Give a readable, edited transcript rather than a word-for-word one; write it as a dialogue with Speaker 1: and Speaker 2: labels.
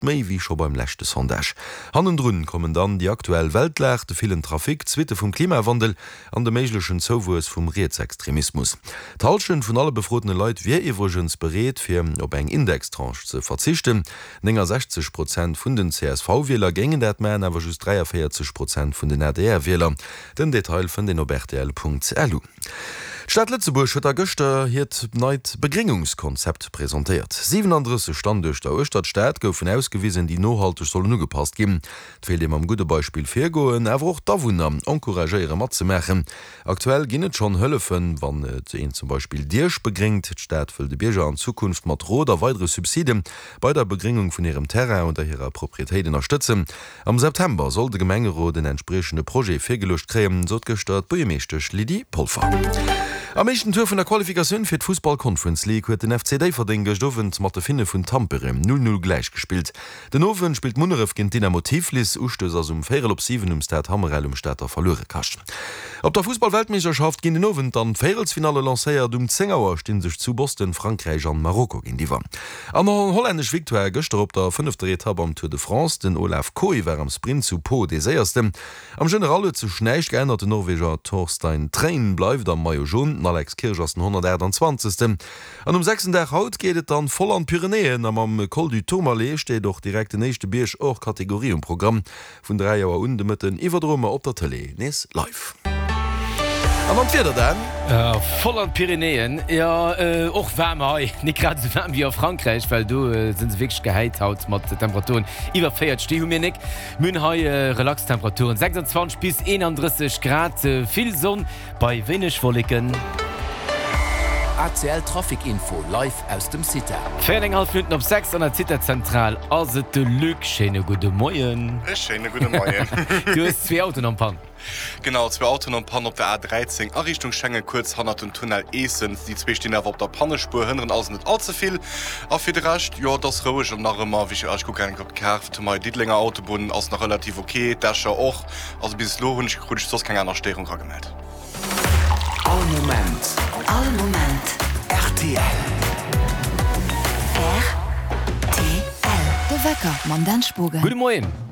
Speaker 1: Méi wéi scho beim leschte Sondage. Hannendrun kommen dann déi aktuell Weltlag, de villen Trafic, d'Suitte vum Klimawandel an de méiglechen Zouwuess vum Rietsextremismus. D'Hallschent vun alle befrotene Leit wier iwwregens bereet, fir op eng Indextranche ze verzichten. 69 Prozent vun den CSV-Wieler géingen dat maachen, awer just 43 Prozent vun den ADR-Wieler. Den Detail fënnt een op rtl.lu. D'Stad Lëtzebuerg huet da gëschter hiert neit Begréngungskonzept presentéiert. 37 Standuerter uechter d'Stad goufen ausgewisen, déi nohalteg sollen ugepasst ginn. Et wéilt ee mam gudde Beispill virgoen, awer och d'Awunner encouragéiere matzemaachen. Aktuell ginn et schonn Hëllefen, wann een zum Beispill Diech begréngt. D'Stad wëll de Bierger an Zukunft mat Rot a weidere Subside bei der Begréngung vun hirem Terrain oder hirer Proprietéit ënnerstëtzen. Am September soll de Gemengerot en entspriechende Projet virgeluecht kréien, sot gëschter d'Buergermeeschtesch Lydie Polfer. Am éischten Tour vun der Qualifikatioun fir d'Fussball Conference League huet den FC Déifferdeng gëscht Owend mat de Finne vun Tampere 0, 0 gläichgespillt. Den Owend spillt Munneref géint Dynamo Tiflis. Ustouss ass um véierel op 7 um Stade Hammerel um Stater Verluerekascht. Op der Fussball-Weltmeeschterschaft ginn den Owend dann d'Véierelsfinalle lancéiert. Um 10 Auer sti sech zu Boston Frankräich an Marokko géintiwwer. An och hollännesch Victoire gëschter op der fënnefter Etapp am Tour de France. Den Olav Kooij war am Sprint zu Pau dee Séiersten. Am General huet sech näischt geännert, den Norweger Torstein Træen bleift am Maillot Jaune, den Alex Kirsch ass den 128. An um sechsten Dag haut geet et dann voll an d'Pyrenäen a mam Col du Tourmalet steet och direkt den éischte Bierg hors Catégorie um Programm. Vun 3 Auer un de Mëtten iwwerdroe mer op der Tëlee nees live. An dann d'Wieder, Dan?
Speaker 2: Voll an d'Pyrenäen, jo och waarm hei, net grad esou waarm wéi a Frankräich, well do sinn se wierklech gehäit haut mat Temperaturen iwwer 40, déi hu mir nek. Mir hunn hei relax Temperaturen, 26 bis 31 Grad, vill Sonn bei wéineg Wolleken.
Speaker 3: ACL Trafic Info live aus dem CITA.
Speaker 2: Véier an eng hallef Minutten op 6 an der CITA-Zentral ass et de Luc. Schéine gudde Moien.
Speaker 4: E schéine gudde Moien.
Speaker 2: Du hues zwee Autoen am Pann.
Speaker 4: Genau, zwee Autoen am Pann op der A13 a Richtung Schengen, kuerz hannert dem Tunnel Eessen. Déi zwee stinn awer op der Pannespuer, hënneren also net all ze vill. A fir de Rescht, jo, et ass roueg an nach ëmmer, wéi ech kucken eng Kéier op d'Kaart, hei Diddelenger Autobunn ass nach relativ ok, d'Escher och. Also bis elo hunn ech krut ech soss keng aner Stéierung ragemellt.
Speaker 3: All Moment.
Speaker 5: All Moment.
Speaker 3: Rtl.
Speaker 5: Rtl. De Wecker mam Dan Spogen.
Speaker 2: Gudde Moien.